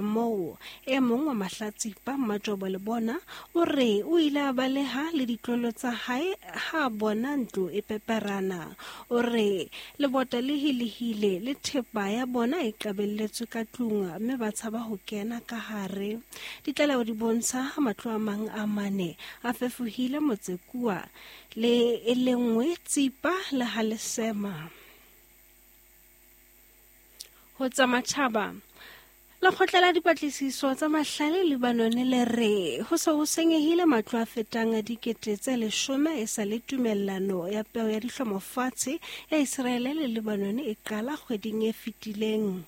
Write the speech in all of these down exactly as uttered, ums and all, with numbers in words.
Moo e mong wa mahlatsipa Mmajobo le bona o re o ile a baleha le ditlolo tsa hae ha a bona ntlo e peperana. O re lebota le hilehile le thepa ya bona e qabelletswe ka tlung mme ba tshaba ho kena ka hare. Ditlaleho di bontsha ha matlo a mang a mane a fefohile motse kua le e le nngwe Tsipa le ha Lesema. Ho tsa matjhaba, Lekgotla la dipatlisiso tsa mahlale Lebanon le re ho se ho senyehile matlo a fetang dikete tse leshome e sa le tumellano ya peo ya dihlomofatshe ya Israele le Lebanon e qala kgweding e fetileng.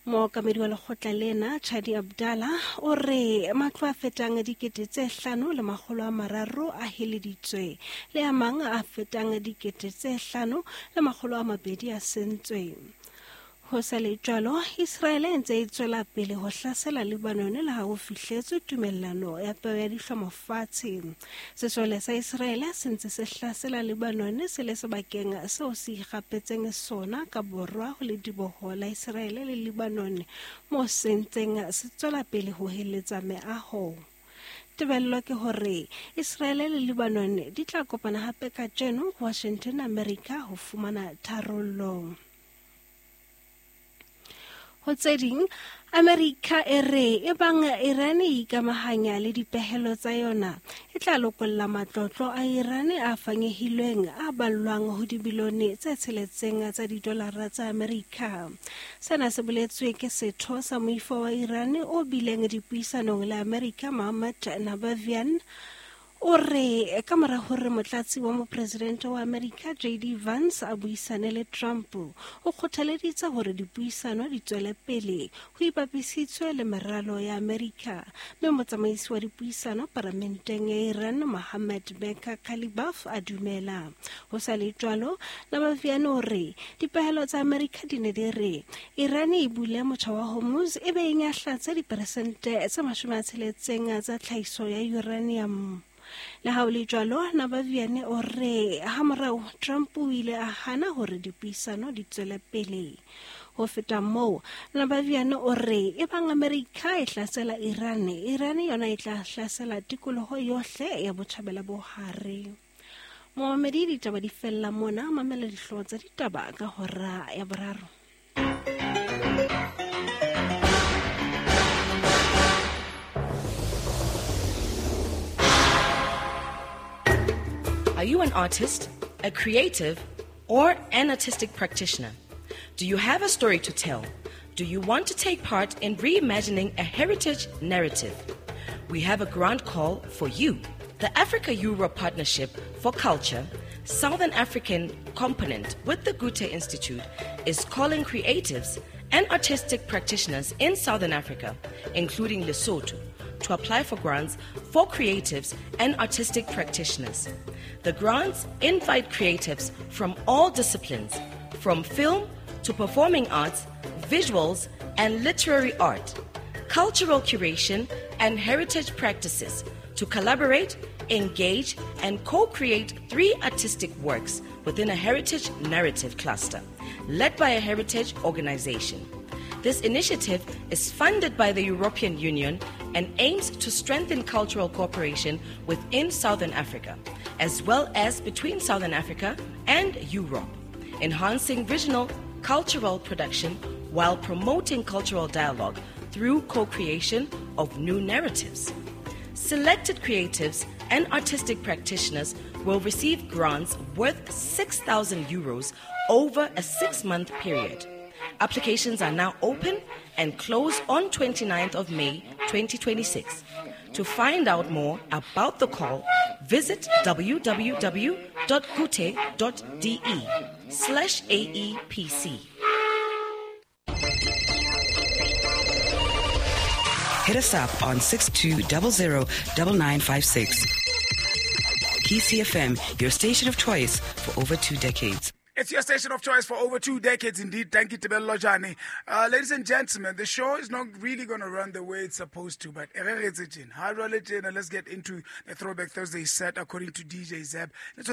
Mookamedi wa lekgotla lena Chadi Abdallah o re matlo a fetang dikete tse hlano le makgolo a mararo a heleditswe le a mang a fetang dikete tse hlano le makgolo a mabedi a sentswe. Ho sa le jwalo, Israele e ntse e tswela pele ho hlasela Lebanon le ha ho fihletswe tumellano ya peo ya dihlomofatshe. Sesole sa Israele se ntse se hlasela Lebanon se le sebakeng seo se ikgapetseng sona ka borwa ho lediboho la Israele le Lebanon, moo se ntseng se tswela pele ho heletsa meaho. Tebello ke hore Israele le Lebanon di tla kopana hape kajeno Washington, America ho fumana tharollo. Ho tse ding, Amerika e re e bang Iran e ikamahanya le dipehelo tsa yona e tla lokolla matlotlo a Iran a fanyehilweng a ballwang ho dibilione tse tsheletseng tsa didolara tsa Amerika. Sena se boletswe ke setho sa moifo wa Iran o bileng dipuisanong le Amerika Mohammad Nabavian. O re ka mora hore motlatsi wa mopresidente wa Amerika J D Vance a buisane le Trump, o kgothaleditse hore dipuisano di tswele pele ho ipapisitswe le meralo ya Amerika. Mme motsamaisi wa dipuisano paramenteng ya Iran Mohammad Bagher Ghalibaf a dumela. Ho sa le jwalo, Nabavian o re dipehelo tsa Amerika di ne di re Iran e bule motjha wa Hormuz e be e nyahlatse diperesente tse mashome a tsheletseng tsa tlhahiso ya uranium. Le ha ho le jwalo, Nabavian o re hamorao Trump o ile a hana hore dipuisano di tswele pele. Ho feta moo, Nabavian o re e bang Amerika e hlasela Iran, Iran yona e tla hlasela tikoloho yohle ya botjhabela bo hare. Momamedi, ditaba di fella mona, mamela dihlooho tsa ditaba ka hora ya boraro. Are you an artist, a creative, or an artistic practitioner? Do you have a story to tell? Do you want to take part in reimagining a heritage narrative? We have a grant call for you. The Africa-Europe Partnership for Culture, Southern African component with the Goethe Institute, is calling creatives and artistic practitioners in Southern Africa, including Lesotho, to apply for grants for creatives and artistic practitioners. The grants invite creatives from all disciplines, from film to performing arts, visuals and literary art, cultural curation and heritage practices, to collaborate, engage and co-create three artistic works within a heritage narrative cluster, led by a heritage organization. This initiative is funded by the European Union and aims to strengthen cultural cooperation within Southern Africa, as well as between Southern Africa and Europe, enhancing regional cultural production while promoting cultural dialogue through co-creation of new narratives. Selected creatives and artistic practitioners will receive grants worth six thousand euros over a six-month period. Applications are now open and close on twenty-ninth of May twenty twenty-six. To find out more about the call, visit www.goethe.de slash A E P C. Hit us up on six two zero zero nine nine five six. P C F M, your station of choice for over two decades. It's your station of choice for over two decades indeed. Thank you, Tebello Lojane. Uh, ladies and gentlemen, the show is not really going to run the way it's supposed to, but let's get into the Throwback Thursday set according to D J Zeb. Let's